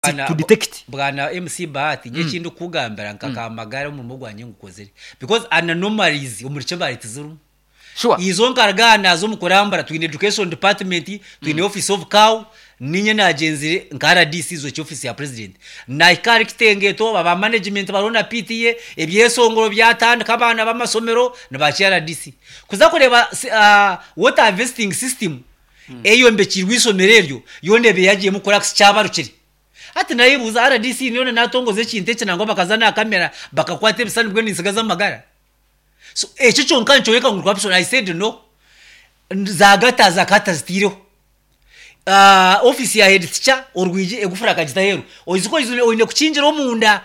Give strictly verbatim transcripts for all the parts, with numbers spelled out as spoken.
Bwana- To detect. Bwana M C Bahati, nye ekindi kugambira nka kamagara omurimo gwanye ngukozire because anomalies omuri Kibale tizirimu. Sure. Izo nkarugana zo mukurambura, twine education department, twine office of C A O. Ninye nagenzire nka R D C izo office ya president, nahika kitengeto aba management bariho na P T A, ebyesongoro byatandika, abaana b'amasomero nibaki R D C kuza kureba uh, water harvesting system eyombekirwe isomero eryo yona ebe yagiyemu cracks, kyabarukire. Hati nayibuuza R D C niyo natongoza ekintu eki nangwa bakaza na kamera bakakwata ebisani bwe ninsigaza amagara. So ekyo kyonka nikyoreka ngu corruption, I said no. Zagata zakata zitiireho uh, office ya head teacher, orwigi egufura akagita aheeru, ozi ko oine kukingira omunda.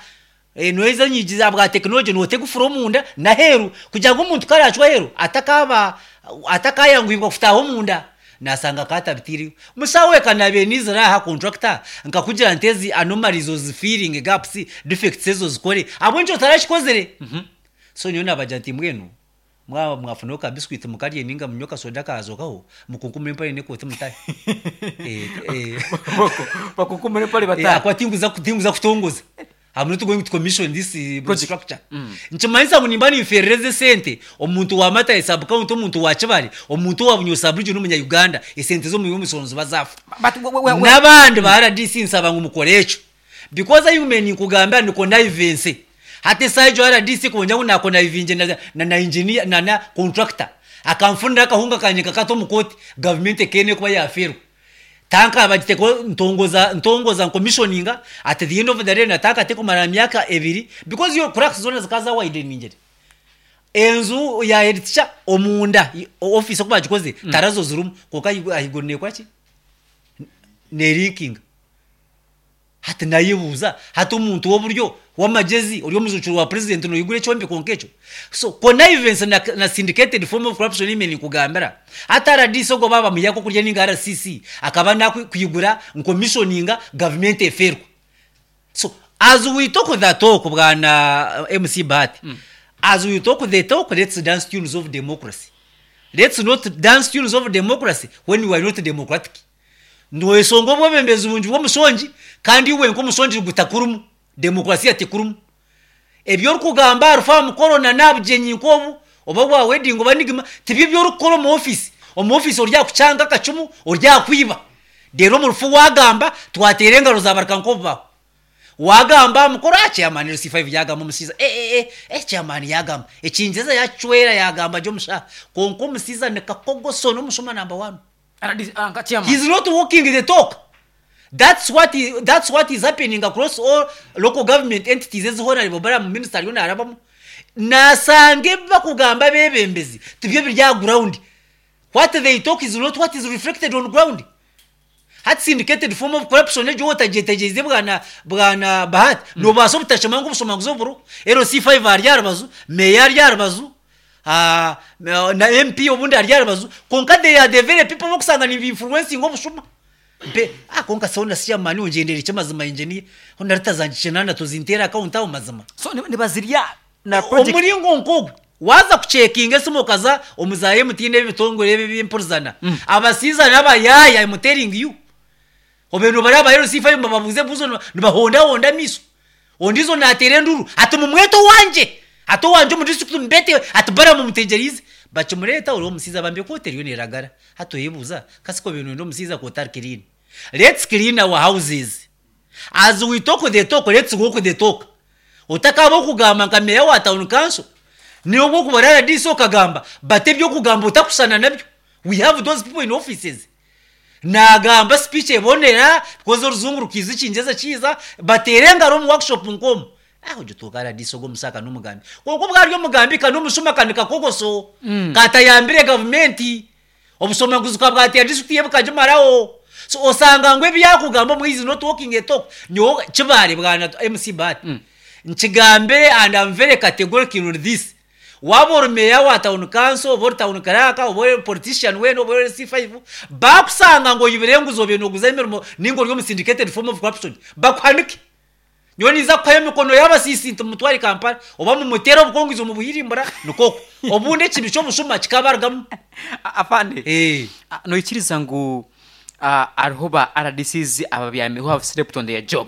Eh, noeza nyigi za bwa tekinology, noota egufura omunda naheeru kugira ngu omuntu karacwa aheeru atakaba atakayanguhibwa kutaaha omunda, nasanga katabitiireyo. Musawo kanabe nizira aha contractor nkakugira nti ezi anomalies ozifilling gaps, defects ezo zikore abwenkyo otarakikozire. So nyowe nabagira nti mbwenu mwaba mwafunaho ka biscuit mukarye ninga munywe kasoda kazokaho, mukunkumure empare n'ekooti mutahe. Eh, eh. Bakukumure empare Eh, batahe. Akwa tinguza tinguza kutongoza. I'm not going to commission this uh, Project. structure. Nkimanyisa ngu nimba nimferereza esente omuntu wa Mata sub county, omuntu wa Kibale, omuntu wa Bunyo sub region, omunya Uganda, esente zo mu misoro ziba zafa. But we- we- we- N'abandi ba R D C nsaba ngu mukore ekyo because ayume ninkugambira ni connivance. Hati esaaha egyo R D C konja ngu naconnivinge na, na, na engineer na, na contractor akamfunira akahunga kanye kakata omu kooti, gavumenti ekeene kuba yaferwa tanka bagiteko ntongoza ntongoza commissioninga. At the end of the day nataka tekumara myaka ebiri because yo cracks zona zikaza wideningere. Enzu ya head teacher omunda i- office oku bagikoze tarazo zirimu, konka ahiguru nekwaki nerinkinga. Hati nayebuuza, hati omuntu w'oburyo w'amagezi ori omujukuru wa president noyigura ekyombeko nk'ekyo? So connivance na, na syndicated form of corruption ime ninkugambira. Hati R D C ogwo baba muyako kurya ninga R C C akaba nakwigura ncommissioninga, gavumenti eferwa. So as we talk the talk, bwana uh, M C Bahati, mm. as we talk the talk, let's dance tunes of democracy. Let's not dance tunes of democracy when we are not democratic. Noesonga obwebembezi bungi bw'omushongi kandi iwe nk'omushongi gutakurumu demokrasiya tekurumu. Ebyo orikugamba arufa mukoro na nabugyenyi nk'obu oba bwa wedding oba nigima tibyo byorikukora omu office. Omu office oryakucyanga akacumu, oryakwiba, rero omu rufu wagamba twatera engaro zabarika nk'obubaho. Wagamba mukoro, ah, chairman L C five yagamba, omusiza eh eh eh eh chairman yagamba ekinjeza yacwera yagamba gyo omushaha, konka omusiza ni kakogoso n'omushuma number one. R D C, ah, nka chairman. He's not walking the talk. That's what is, that's what is happening across all local government entities ezi honorable Balaam minister ariyo narabamu. Nasanga ebi bakugamba bebembezi tibyo biri aha ground. What they talk is not what is reflected on ground. Hati syndicated form of corruption egyo otagyetegyereize, bwana bwana Bahati, mm. nobaasa obutashema ngu obushomanguzi oburo L C five ari aha rubazu, meya ari aha rubazu, ah, na M P obundi ari aha rubazu, konka they are the very people bokusanga niba-influencing obushuma mpe. Ah, konka sona chairman ongyendere ekyamazima, engineer ona ritazangishe nana tuzintera account aho mazima. So ni- nibazirya na project. Omuringo nk'ogwo waza kucheckinga esimu okaza omu za M T N, ebitongore ebi byempurizana, abasiiza n'abayaya, I'm telling you, obe nobari aba L C five bababuze ebibuzo nibahondahonda amiso, ondizo nateera enduru ati mumwete owangye, ati owangye omu district mubete, ati bara mumutegyereize. Bakimureta ori omusiiza bambe kooti eriyo neragara. Hati oyebuuza kasiko bintu omusiiza kooti clean. Let's clean our houses. As we talk the talk, let's walk the talk. Otakaba okugamba nka meya wa town council niyo bwokubara R D C okagamba, but ebyokugamba otakusana nabyo. We have those people in offices, nagamba speech ebonera because oruzungu rukiza ekingyeza kiza, bateera engaro omu workshop nkomu aho gituuka R D C ogwo omusaka n'omugambi, konka obwari omugambi kani omushuma kani kakogoso mm. katayambire gavumenti, obusomanguzi bwatera district ye bukagimaraho. So osanga ngu ebyakugamba omu is not walking a talk. Nyowe Kibare, bwana M C Bahati, mm. nkigambire and I'm very categorical on this. Waba ori meya wa town council, oba ori town clerk, oba ori politician wena, oba ori L C five, bakusanga ngu oyibire enguzi, obe noguza emirimo ninga ori omu syndicated form of corruption, bakuhanike. Nyowe niza kuhayo emikono y'abasiisi nti mumutware Kampala oba mumutere obukongizi omu buhirimbura nikoko obundi ekibi ky'obushuma kikabarugamu. A- afande Eh. Ah, noikiriza ngu Uh, hariho ba R D Cs ababyami who have slept on their job.